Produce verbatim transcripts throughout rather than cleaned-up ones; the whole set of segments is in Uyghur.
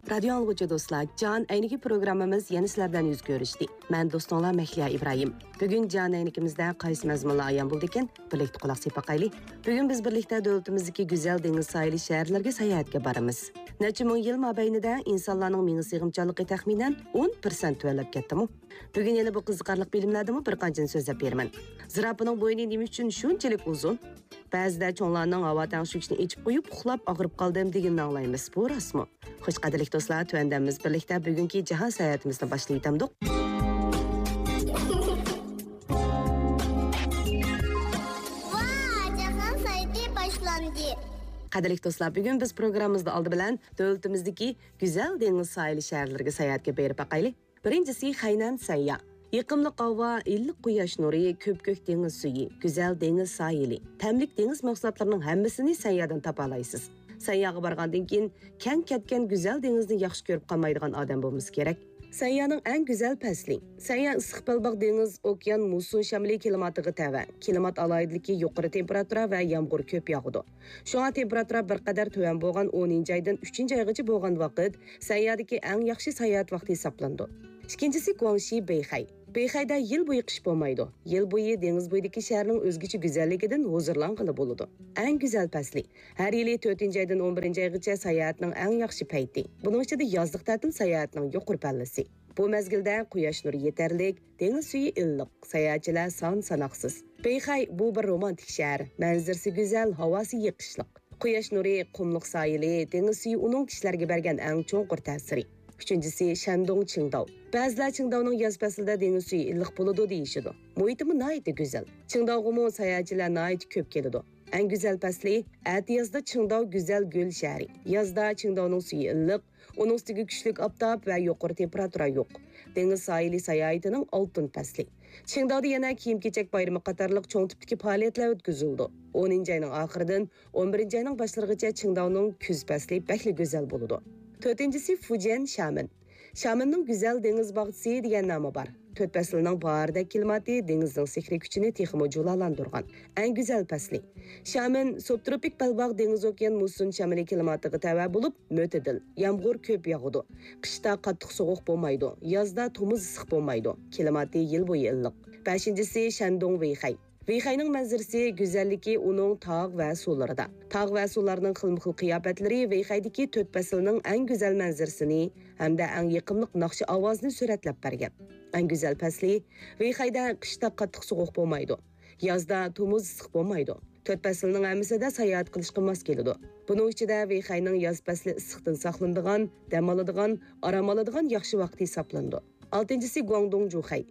رادىيو ئاڭلىغۇچى دوستلار، جان ئەينىكى پروگراممىمىز يەنە سىلەر بىلەن يۈز كۆرۈشتى. مەن دوستۇڭلار مەھلىيا ئىبراھىم. بۈگۈن جان ئەينىكىمىزدە قايسى مەزمۇنلار ئايان بولىدىكەن؟ بىرلىكتە قۇلاق سېلىپ باقايلى. بۈگۈن بىز بىرلىكتە دۆلىتىمىزدىكى گۈزەل دېڭىز ساھىلى شەھەرلەرگە ساياھەتكە بارىمىز. نەچچە مىڭ يىل مابەينىدە ئىنسانلارنىڭ مېڭە سىغىمچانلىقى تەخمىنەن ئون پىرسەنت تۆۋەنلەپ كەتتىمۇ؟ بۈگۈن يەنە بۇ قىزىقارلىق بىلىملەردىنمۇ بىر قانچىنى سۆزلەپ بېرىمەن. زىراپىنىڭ بوينى نېمە ئۈچۈن شۇنچىلىك ئۇزۇن؟ بەزىدە چوڭلارنىڭ ھاۋا تەڭشىگۈچنى ئېچىپ قويۇپ، ئۇخلاپ ئاغرىپ قالدىم دېگىنىنى ئاڭلايمىز. بۇ راستمۇ؟ خوش، قەدىرلىك دوستلار، تۆۋەندە بىز بىرلىكتە بۈگۈنكى جاھان ساياھىتىمىزنى باشلىۋېتەمدۇق. ۋاي، جاھان ساياھىتى باشلاندى. قەدىرلىك دوستلار، بۈگۈن بىز پروگراممىمىزدا ئالدى بىلەن دۆلىتىمىزدىكى گۈزەل دېڭىز ساھىلى شەھەرلىرىگە ساياھەتكە بېرىپ باقايلى. بىرىنچىسى خەينەن سەنيا. يېقىملىق ھاۋا، ئىللىق قۇياش نۇرى، كۆپكۆك دېڭىز سۈيى، گۈزەل دېڭىز ساھىلى، تەملىك دېڭىز مەھسۇلاتلىرىنىڭ ھەممىسىنى سەنيادىن تاپالايسىز. سەنياغا بارغاندىن كېيىن، كەڭ كەتكەن گۈزەل دېڭىزنى ياخشى كۆرۈپ قالمايدىغان ئادەم بولمىسا كېرەك. سەنيانىڭ ئەڭ گۈزەل پەسلى. سەنيا ئىسسىق بەلباغ دېڭىز، ئوكيان، مۇسسون شامىلى كىلىماتىغا تەۋە. كىلىمات ئالاھىدىلىكى يۇقىرى تېمپېراتۇرا ۋە يامغۇر كۆپ ياغىدۇ. شۇڭا تېمپېراتۇرا بىر قەدەر تۆۋەن بولغان ئونىنچى ئايدىن ئۈچىنچى ئايغىچە بولغان ۋاقىت سەنيادىكى ئەڭ ياخشى ساياھەت ۋاقتى ھېسابلىنىدۇ. ئىككىنچىسى، گۇاڭشى بېيخەي. بېيخەيدە يىل بويى قىش بولمايدۇ. يىل بويى دېڭىز بويىدىكى شەھەرنىڭ ئۆزگىچە گۈزەللىكىدىن ھۇزۇرلانغىلى بولىدۇ. ئەڭ گۈزەل پەسلى. ھەر يىلى تۆتىنچى ئايدىن ئون بىرىنچى ئايغىچە ساياھەتنىڭ ئەڭ ياخشى پەيتى. بۇنىڭ ئىچىدە يازلىق تەتىل ساياھەتنىڭ يۇقىرى پەللىسى. بۇ مەزگىلدە قۇياش نۇرى يېتەرلىك، دېڭىز سۈيى ئىللىق، ساياھەتچىلەر سان ساناقسىز. بېيخەي، بۇ بىر رومانتىك شەھەر. مەنزىرىسى گۈزەل، ھاۋاسى يېقىشلىق. قۇياش نۇرى، قۇملۇق ساھىلى، دېڭىز سۈيى ئۇنىڭ كىشىلەرگە بەرگەن ئەڭ چوڭقۇر تەسىرى. ئۈچىنچىسى، شەندۇڭ چىڭداۋ. بەزىلەر چىڭداۋنىڭ ياز پەسلىدە دېڭىز سۈيى ئىللىق بولىدۇ دېيىشىدۇ. مۇھىتىمۇ ناھايىتى گۈزەل. چىڭداۋغىمۇ ساياھەتچىلەر ناھايىتى كۆپ كېلىدۇ. ئەڭ گۈزەل پەسلى، ئەتىيازدا چىڭداۋ گۈزەل گۈل شەھىرى. يازدا چىڭداۋنىڭ سۈيى ئىللىق، ئۇنىڭ ئۈستىگە كۈچلۈك ئاپتاپ ۋە يۇقىرى تېمپېراتۇرا يوق. دېڭىز ساھىلى ساياھىتىنىڭ ئالتۇن پەسلى. چىڭداۋدا يەنە كىيىم-كېچەك بايرىمى قاتارلىق چوڭ تىپتىكى پائالىيەتلەر ئۆتكۈزۈلىدۇ. ئونىنچى ئاينىڭ ئاخىرىدىن ئون بىرىنچى ئاينىڭ باشلىرىغىچە چىڭداۋنىڭ كۈز پەسلى بەكلا گۈزەل بولىدۇ. تۆتىنچىسى، فۇجيەن شامېن. شامېننىڭ گۈزەل دېڭىز باغچىسى دېگەن نامى بار. تۆت پەسىلنىڭ باھاردەك كىلىماتى دېڭىزنىڭ سېھرىي كۈچىنى تېخىمۇ جۇلالاندۇرغان. ئەڭ گۈزەل پەسلى. شامېن سۇبتروپىك بەلباغ دېڭىز ئوكيان مۇسسون شامىلى كىلىماتىغا تەۋە بولۇپ، مۆتىدىل، يامغۇر كۆپ ياغىدۇ. قىشتا قاتتىق سوغۇق بولمايدۇ، يازدا تومۇز ئىسسىق بولمايدۇ. كىلىماتى يىل بويى ئىللىق. بەشىنچىسى، شەندۇڭ ۋېيخەي. ۋېيخەينىڭ مەنزىرىسى، گۈزەللىكى ئۇنىڭ تاغ ۋە سۇلىرىدا. تاغ ۋە سۇلارنىڭ خىلمۇ خىل قىياپەتلىرى ۋېيخەيدىكى تۆت پەسىلنىڭ ئەڭ گۈزەل مەنزىرىسىنى ھەمدە ئەڭ يېقىملىق ناخشا ئاۋازىنى سۈرەتلەپ بەرگەن. ئەڭ گۈزەل پەسلى، ۋېيخەيدە قىشتا قاتتىق سوغۇق بولمايدۇ. يازدا تومۇز ئىسسىق بولمايدۇ. تۆت پەسىلنىڭ ھەممىسىدە ساياھەت قىلىشقا ماس كېلىدۇ. بۇنىڭ ئىچىدە ۋېيخەينىڭ ياز پەسلى ئىسسىقتىن ساقلىنىدىغان، دەم ئالىدىغان، ئارام ئالىدىغان ياخشى ۋاقىت ھېسابلىنىدۇ. ئالتىنچىسى، گۇاڭدۇڭ جۇخەي.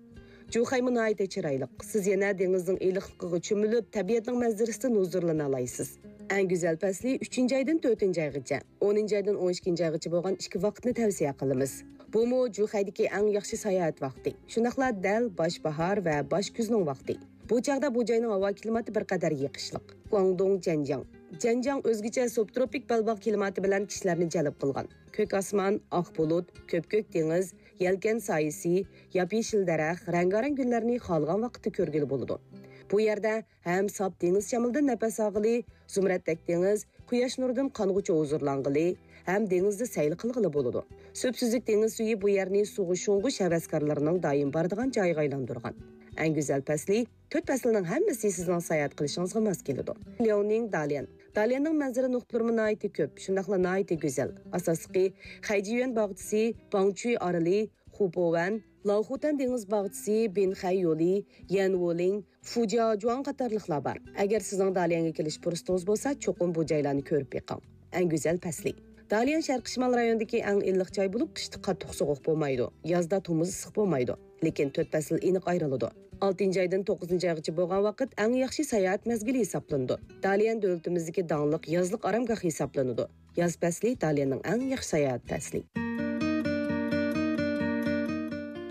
جۇخەيمۇ ناھايىتى چىرايلىق. سىز يەنە دېڭىزنىڭ ئىللىقلىقىغا چۆمۈلۈپ، تەبىئەتنىڭ مەنزىرىسىدىن ھۇزۇرلىنالايسىز. ئەڭ گۈزەل پەسلى ئۈچىنچى ئايدىن تۆتىنچى ئايغىچە، ئونىنچى ئايدىن ئون ئىككىنچى ئايغىچە بولغان ئىككى ۋاقىتنى تەۋسىيە قىلىمىز. بۇمۇ جۇخەيدىكى ئەڭ ياخشى ساياھەت ۋاقتى. شۇنداقلا دەل باش باھار ۋە باش كۈزنىڭ ۋاقتى. بۇ چاغدا بۇ جاينىڭ ھاۋا كىلىماتى بىر قەدەر يېقىشلىق. گۇاڭدۇڭ جەنجياڭ. جەنجياڭ ئۆزگىچە سۇبتروپىك بەلباغ كىلىماتى بىلەن كىشىلەرنى جەلپ قىلغان. كۆك ئاسمان، ئاق بۇلۇت، كۆپكۆك دېڭىز، يەلكەن سايىسى، ياپيېشىل دەرەخ، رەڭگارەڭ گۈللەرنى خالىغان ۋاقىتتا كۆرگىلى بولىدۇ. بۇ يەردە ھەم ساپ دېڭىز شامىلىدىن نەپەس ئالغىلى، زۇمرەتتەك دېڭىز، قۇياش نۇرىدىن قانغۇچە ھۇزۇرلانغىلى ھەم دېڭىزدا سەيل قىلغىلى بولىدۇ. سۈپسۈزۈك دېڭىز سۈيى بۇ يەرنى سۇغا شۇڭغۇش ھەۋەسكارلىرىنىڭ دائىم بارىدىغان جايىغا ئايلاندۇرغان. ئەڭ گۈزەل پەسلى، تۆت پەسىلنىڭ ھەممىسى سىزنىڭ ساياھەت قىلىشىڭىزغا ماس كېلىدۇ. لياۋنىڭ داليەن. داليەننىڭ مەنزىرە نۇقتىلىرىمۇ ناھايىتى كۆپ، شۇنداقلا ناھايىتى گۈزەل. ئاساسلىقى، خەيجىيۈەن باغچىسى، باڭچۈي ئارىلى، خۇپوۋەن، لاۋخۇتەن دېڭىز باغچىسى، بىنخەي يولى، يەنۋولىڭ، فۇجياجۇاڭ قاتارلىقلار بار. ئەگەر سىزنىڭ داليەنگە كېلىش پۇرسىتىڭىز بولسا، چوقۇم بۇ جايلارنى كۆرۈپ بېقىڭ. ئەڭ گۈزەل پەسلى. داليەن شەرقىي شىمال رايونىدىكى ئەڭ ئىللىق جاي بولۇپ، قىشتا قاتتىق سوغۇق بولمايدۇ، يازدا تومۇز ئىسسىق بولمايدۇ. لېكىن تۆت پەسىل ئېنىق ئايرىلىدۇ. ئالتىنچى ئايدىن توققۇزىنچى ئايغىچە بولغان ۋاقىت ئەڭ ياخشى ساياھەت مەزگىلى ھېسابلىنىدۇ. داليەن دۆلىتىمىزدىكى داڭلىق يازلىق ئارامگاھ ھېسابلىنىدۇ. ياز پەسلى داليەننىڭ ئەڭ ياخشى ساياھەت پەسلى.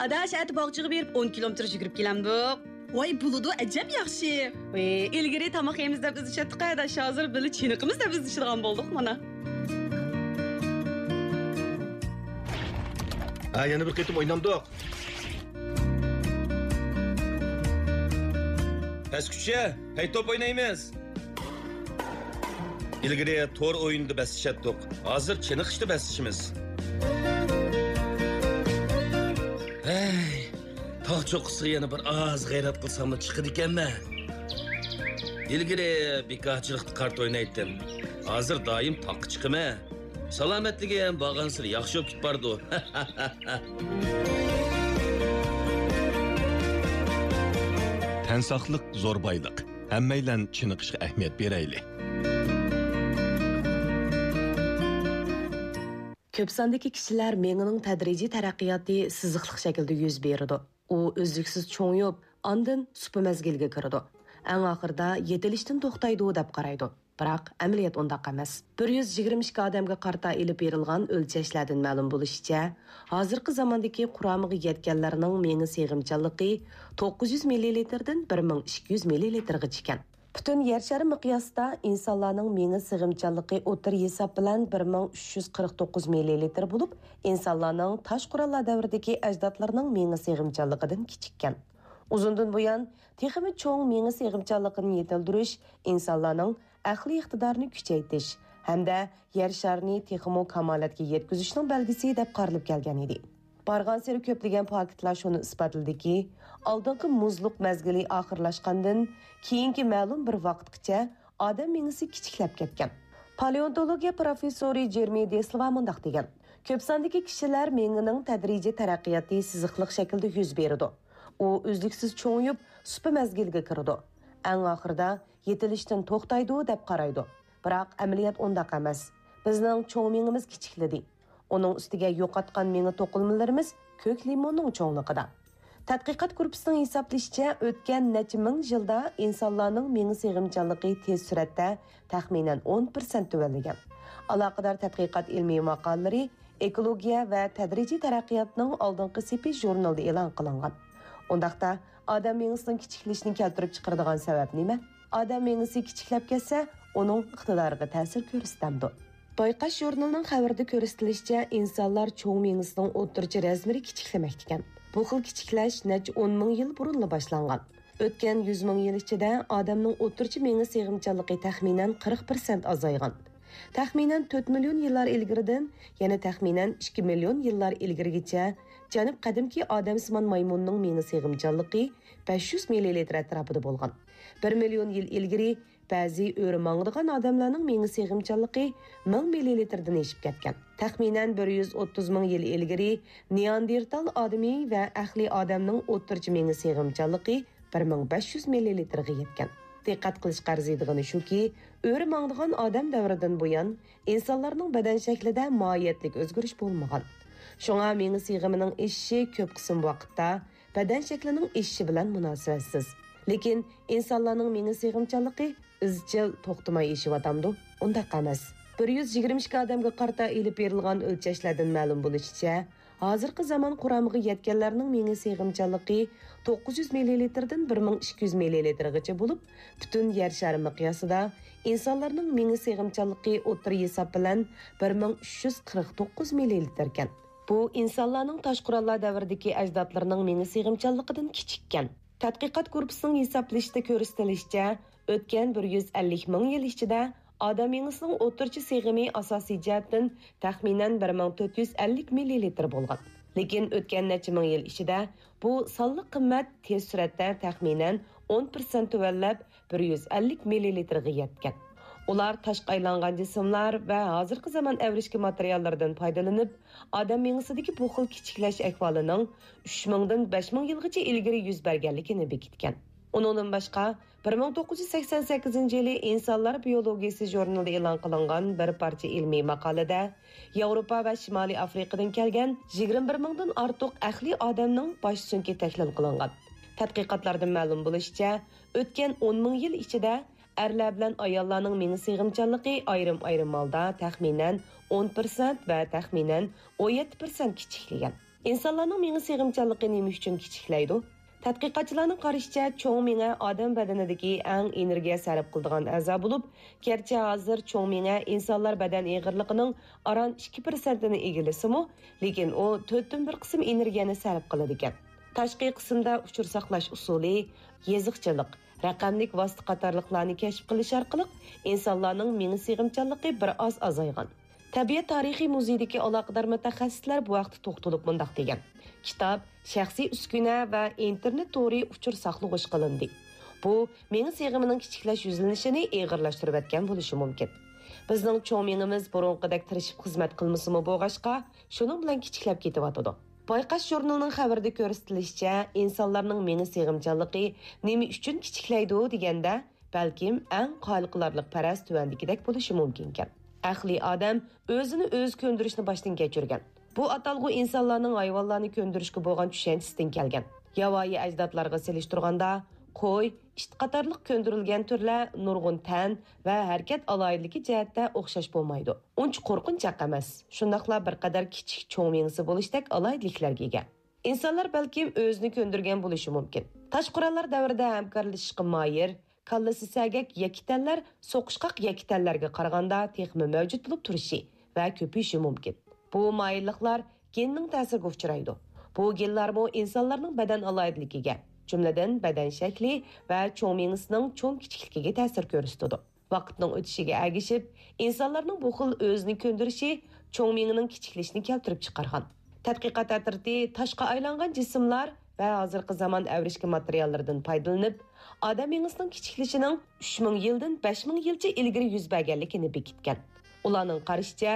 ئاداش، ئەتە باغچىغا بېرىپ ئون كىلومېتىر يۈگۈرۈپ كېلەمدۇق. ۋاي، بولىدۇ، ئەجەب ياخشى. ۋى، ئىلگىرى تاماق يەيمىز دەپ ئىزدىشەتتۇق ئاداش، ھازىر بىللە چېنىقىمىز دەپ ئىزدىشىدىغان بولدۇق مانا. ھە، يەنە بىر قېتىم ئوينامدۇق. پەسكۈچە، پەي توپ ئوينايمىز. ئىلگىرى تور ئويۇنىدا بەسلىشەتتۇق. ھازىر چېنىقىشتا بەسلىشىمىز. ھەي، تاغ چوققىسىغا يەنە بىر ئاز غەيرەت قىلساملا چىقىدىكەنمەن. ئىلگىرى بىكارچىلىقتا كارتا ئوينايتتىم. ھازىر دائىم تاغقا چىقىمەن. سالامەتلىكىم بارغانسېرى ياخشى بولۇپ كېتىپ بارىدۇ. تەن ساقلىق زور بايلىق. ھەممەيلەن چېنىقىشقا ئەھمىيەت بېرەيلى. كۆپ ساندىكى كىشىلەر مېڭىنىڭ تەدرىجىي تەرەققىياتى سىزىقلىق شەكىلدە يۈز بېرىدۇ. ئۇ ئۈزلۈكسىز چوڭىيىپ، ئاندىن سۇپا مەزگىلىگە كىرىدۇ. ئەڭ ئاخىرىدا يېتىلىشتىن توختايدۇ دەپ قارايدۇ. بىراق، ئەمەلىيەت ئۇنداق ئەمەس. بىر يۈز يىگىرمە ئىككى ئادەمگە قارىتا ئېلىپ بېرىلغان ئۆلچەشلەردىن مەلۇم بولۇشىچە، ھازىرقى زاماندىكى قۇرامىغا يەتكەنلەرنىڭ مېڭە سېغىمچانلىقى توققۇز يۈز مىللىلىتىردىن بىر مىڭ ئىككى يۈز مىللىلىتىرغىچە ئىكەن. پۈتۈن يەر شارى مىقياسىدا ئىنسانلارنىڭ مېڭە سېغىمچانلىقى ئوتتۇرا ھېساب بىلەن بىر مىڭ ئۈچ يۈز قىرىق توققۇز مىللىلىتىر بولۇپ، ئىنسانلارنىڭ تاش قوراللار دەۋرىدىكى ئەجدادلىرىنىڭ مېڭە سېغىمچانلىقىدىن كىچىككەن. ئۇزۇندىن بۇيان، تېخىمۇ چوڭ مېڭە سېغىمچانلىقىنى يېتىلدۈرۈش ئىنسانلارنىڭ ئەقلىي ئىقتىدارىنى كۈچەيتىش ھەمدە يەر شارىنى تېخىمۇ كامالەتكە يەتكۈزۈشنىڭ بەلگىسى دەپ قارىلىپ كەلگەن ئىدى. بارغانسېرى كۆپلىگەن پاكىتلار شۇنى ئىسپاتلىدىكى، ئالدىنقى مۇزلۇق مەزگىلى ئاخىرلاشقاندىن كېيىنكى مەلۇم بىر ۋاقىتقىچە ئادەم مېڭىسى كىچىكلەپ كەتكەن. پالېئونتولوگىيە پروفېسسورى جېرمى دېسلىۋا مۇنداق دېگەن: «كۆپ ساندىكى كىشىلەر مېڭىنىڭ تەدرىجىي تەرەققىياتى سىزىقلىق شەكىلدە يۈز بېرىدۇ. ئۇ ئۈزلۈكسىز چوڭىيىپ، سۇپا مەزگىلىگە كىرىدۇ. ئەڭ ئاخىرىدا يېتىلىشتىن توختايدۇ دەپ قارايدۇ. بىراق ئەمەلىيەت ئۇنداق ئەمەس. بىزنىڭ چوڭ مېڭىمىز كىچىكلىدى. ئۇنىڭ ئۈستىگە يوقاتقان مېڭە توقۇلمىلىرىمىز كۆك لىموننىڭ چوڭلۇقىدا.» تەتقىقات گۇرۇپپىسىنىڭ ھېسابلىشىچە، ئۆتكەن نەچچە مىڭ يىلدا ئىنسانلارنىڭ مېڭە سېغىمچانلىقى تېز سۈرئەتتە تەخمىنەن ئون پىرسەنت تۆۋەنلىگەن. ئالاقىدار تەتقىقات ئىلمىي ماقالىلىرى ئېكولوگىيە ۋە تەدرىجىي تەرەققىياتنىڭ ئالدىنقى سېپى ژۇرنىلىدا ئېلان قىلىنغان. ئۇنداقتا، ئادەم مېڭىسىنىڭ كىچىكلىشىنى كەلتۈرۈپ چىقىرىدىغان سەۋەب نېمە؟ ئادەم مېڭىسى كىچىكلەپ كەتسە، ئۇنىڭ ئىقتىدارىغا تەسىر كۆرسىتەمدۇ؟ بايقاش ژۇرنىلىنىڭ خەۋىرىدە كۆرسىتىلىشىچە، ئىنسانلار چوڭ مېڭىسىنىڭ ئوتتۇرىچە رەزمىرى كىچىكلىمەكتىكەن. بۇ خىل كىچىكلەش نەچچە ئون مىڭ يىل بۇرۇنلا باشلانغان. ئۆتكەن يۈز مىڭ يىل ئىچىدە ئادەمنىڭ ئوتتۇرىچە مېڭە سېغىمچانلىقى تەخمىنەن قىرىق پىرسەنت ئازايغان. تەخمىنەن تۆت مىليون يىللار ئىلگىرىدىن، يەنە تەخمىنەن ئىككى مىليون يىللار ئىلگىرىگىچە جەنۇب قەدىمكى ئادەمسىمان مايمۇننىڭ مېڭە سېغىمچانلىقى بەش يۈز مىللىلىتىر ئەتراپىدا بولغان. بىر مىليون يىل ئىلگىرى بەزى ئۆرە ماڭىدىغان ئادەملەرنىڭ مېڭە سېغىمچانلىقى مىڭ مىللىلىتىردىن ئېشىپ كەتكەن. تەخمىنەن بىر يۈز ئوتتۇز مىڭ يىل ئىلگىرى نېئاندېرتال ئادىمى ۋە ئەقلىي ئادەمنىڭ ئوتتۇرىچە مېڭە سېغىمچانلىقى بىر مىڭ بەش يۈز مىللىلىتىرغا يەتكەن. دىققەت قىلىشقا ئەرزىيدىغىنى شۇكى، ئۆرە ماڭىدىغان ئادەم دەۋرىدىن بۇيان ئىنسانلارنىڭ بەدەن شەكلىدە ماھىيەتلىك ئۆزگىرىش بولمىغان. شۇڭا مېڭە سىغىمىنىڭ ئېشىشى كۆپ قىسىم ۋاقىتتا بەدەن شەكلىنىڭ ئېشىشى بىلەن مۇناسىۋەتسىز. لېكىن ئىنسانلارنىڭ مېڭە سىغىمچانلىقى ئىزچىل توختىماي ئېشىۋاتامدۇ؟ ئۇنداق ئەمەس. بىر يۈز يىگىرمە ئىككى ئادەمگە قارىتا ئېلىپ بېرىلغان ئۆلچەشلەردىن مەلۇم بولۇشىچە، ھازىرقى زامان قۇرامىغا يەتكەنلەرنىڭ مېڭە سىغىمچانلىقى توققۇز يۈز مىللىلىتىردىن بىر مىڭ ئىككى يۈز مىللىلىتىرغىچە بولۇپ، پۈتۈن يەر شارى مىقياسىدا ئىنسانلارنىڭ مېڭە سىغىمچانلىقى ئوتتۇرا ھېساب بىلەن بىر مىڭ ئۈچ يۈز قىرىق توققۇز مىللىلىتىركەن. بۇ ئىنسانلارنىڭ تاش قوراللار دەۋرىدىكى ئەجدادلىرىنىڭ مېڭە سىغىمچانلىقىدىن كىچىككەن. تەتقىقات گۇرۇپپىسىنىڭ ھېسابلىشىدا كۆرسىتىلىشىچە، ئۆتكەن بىر يۈز ئەللىك مىڭ يىل ئىچىدە ئادەم مېڭىسىنىڭ ئوتتۇرىچە سىغىمى ئاساسىي جەھەتتىن تەخمىنەن بىر مىڭ تۆت يۈز ئەللىك مىللىلىتىر بولغان. لېكىن ئۆتكەن نەچچە مىڭ يىل ئىچىدە بۇ سانلىق قىممەت تېز سۈرئەتتە تەخمىنەن ئون پىرسەنت تۆۋەنلەپ، بىر يۈز ئەللىك مىللىلىتىرغا يەتكەن. ئۇلار تاشقا ئايلانغان جىسىملار ۋە ھازىرقى زامان ئەۋرىشكە ماتېرىياللىرىدىن پايدىلىنىپ، ئادەم مېڭىسىدىكى بۇ خىل كىچىكلەش ئەھۋالىنىڭ ئۈچ مىڭدىن بەش مىڭ يىلغىچە ئىلگىرى يۈز بەرگەنلىكىنى بېكىتكەن. ئۇنىڭدىن باشقا، بىر مىڭ توققۇز يۈز سەكسەن سەككىزىنچى يىلى ئىنسانلار بىيولوگىيىسى ژۇرنىلىدا ئېلان قىلىنغان بىر پارچە ئىلمىي ماقالىدە ياۋروپا ۋە شىمالىي ئافرىقىدىن كەلگەن يىگىرمە بىر مىڭدىن ئارتۇق ئەقلىي ئادەمنىڭ باش سۆڭىكى تەھلىل قىلىنغان. تەتقىقاتلاردىن مەلۇم بولۇشىچە، ئۆتكەن ئون مىڭ يىل ئىچىدە ئەرلەر بىلەن ئاياللارنىڭ مېڭە سىغىمچانلىقى ئايرىم-ئايرىم ھالدا تەخمىنەن ئون پىرسەنت ۋە تەخمىنەن ئون يەتتە پىرسەنت كىچىكلىگەن. ئىنسانلارنىڭ مېڭە سىغىمچانلىقى نېمە ئۈچۈن كىچىكلەيدۇ؟ تەتقىقاتچىلارنىڭ قارىشىچە، چوڭ مېڭە ئادەم بەدىنىدىكى ئەڭ ئېنېرگىيە سەرپ قىلىدىغان ئەزا بولۇپ، گەرچە ھازىر چوڭ مېڭە ئىنسانلار بەدەن ئېغىرلىقىنىڭ ئاران ئىككى پىرسەنتىنى ئىگىلىسىمۇ، لېكىن ئۇ تۆتتىن بىر قىسىم ئېنېرگىيەنى سەرپ قىلىدىكەن. تاشقى قىسىمدا ئۇچۇر ساقلاش ئۇسۇلى، يېزىقچىلىق، رەقەملىك ۋاسىتە قاتارلىقلارنى كەشىپ قىلىش ئارقىلىق ئىنسانلارنىڭ مېڭە سىغىمچانلىقى بىر ئاز ئازايغان. تەبىئەت تارىخىي مۇزېيىدىكى ئالاقىدار مۇتەخەسسىسلەر بۇ ھەقتە توختىلىپ مۇنداق دېگەن: كىتاب شەخسىي ئۈسكۈنە ۋە ئىنتېرنېت تورى ئۇچۇر ساقلىغۇچ قىلىندى. بۇ مېڭە سىغىمىنىڭ كىچىكلەش يۈزلىنىشىنى ئېغىرلاشتۇرۇۋەتكەن بولۇشى مۇمكىن. بىزنىڭ چوڭ مېڭىمىز بۇرۇنقىدەك تىرىشىپ خىزمەت قىلمىسىمۇ بولغاچقا، شۇنىڭ بىلەن كىچىكلەپ كېتىۋاتىدۇ. بايقاش ژۇرنىلىنىڭ خەۋىرىدە كۆرسىتىلىشىچە، ئىنسانلارنىڭ مېڭە سىغىمچانلىقى نېمە ئۈچۈن كىچىكلەيدۇ دېگەندە، بەلكىم ئەڭ قايىل قىلارلىق پەرەز تۆۋەندىكىدەك بولۇشى مۇمكىنكەن. ئەقلىي ئادەم ئۆزىنى ئۆزى كۆندۈرۈشنى باشتىن كەچۈرگەن. بۇ ئاتالغۇ ئىنسانلارنىڭ ھايۋانلارنى كۆندۈرۈشكە بولغان چۈشەنچىسىدىن كەلگەن. ياۋايى ئەجدادلارغا سېلىشتۇرغاندا، قوي، ئىت قاتارلىق كۆندۈرۈلگەن تۈرلەر نۇرغۇن تەن ۋە ھەرىكەت ئالاھىدىلىكى جەھەتتە ئوخشاش بولمايدۇ. ئۇنچە قورقۇنچاق ئەمەس، شۇنداقلا بىر قەدەر كىچىك چوڭ مېڭىسى بولۇشتەك ئالاھىدىلىكلەرگە ئىگە. ئىنسانلار بەلكىم ئۆزىنى كۆندۈرگەن بولۇشى مۇمكىن. تاش قوراللار دەۋرىدە ھەمكارلىشىشقا ماھىر، كاللىسى سەگەك يەككە تەنلەر سوقۇشقاق يەككە تەنلەرگە قارىغاندا تېخىمۇ مەۋجۇت بولۇپ تۇرۇشى ۋە كۆپىيىشى مۇمكىن. بۇ ماھىرلىقلار گېننىڭ تەسىرىگە ئۇچرايدۇ. بۇ گېنلارمۇ ئىنسانلارنىڭ بەدەن ئالاھىدىلىكىگە، جۈملىدىن بەدەن شەكلى ۋە چوڭ مېڭىسىنىڭ چوڭ كىچىكلىكىگە تەسىر كۆرسىتىدۇ. ۋاقىتنىڭ ئۆتۈشىگە ئەگىشىپ، ئىنسانلارنىڭ بۇ خىل ئۆزىنى كۆندۈرۈشى چوڭ مېڭىنىڭ كىچىكلىشىنى كەلتۈرۈپ چىقارغان. تەتقىقات ئەترىتى تاشقا ئايلانغان جىسىملار ۋە ھازىرقى زامان ئەۋرىشكە ماتېرىياللىرىدىن پايدىلىنىپ، ئادەم مېڭىسىنىڭ كىچىكلىشىنىڭ ئۈچ مىڭ يىلدىن بەش مىڭ يىلچە ئىلگىرى يۈز بەرگەنلىكىنى بېكىتكەن. ئۇلارنىڭ قارىشىچە،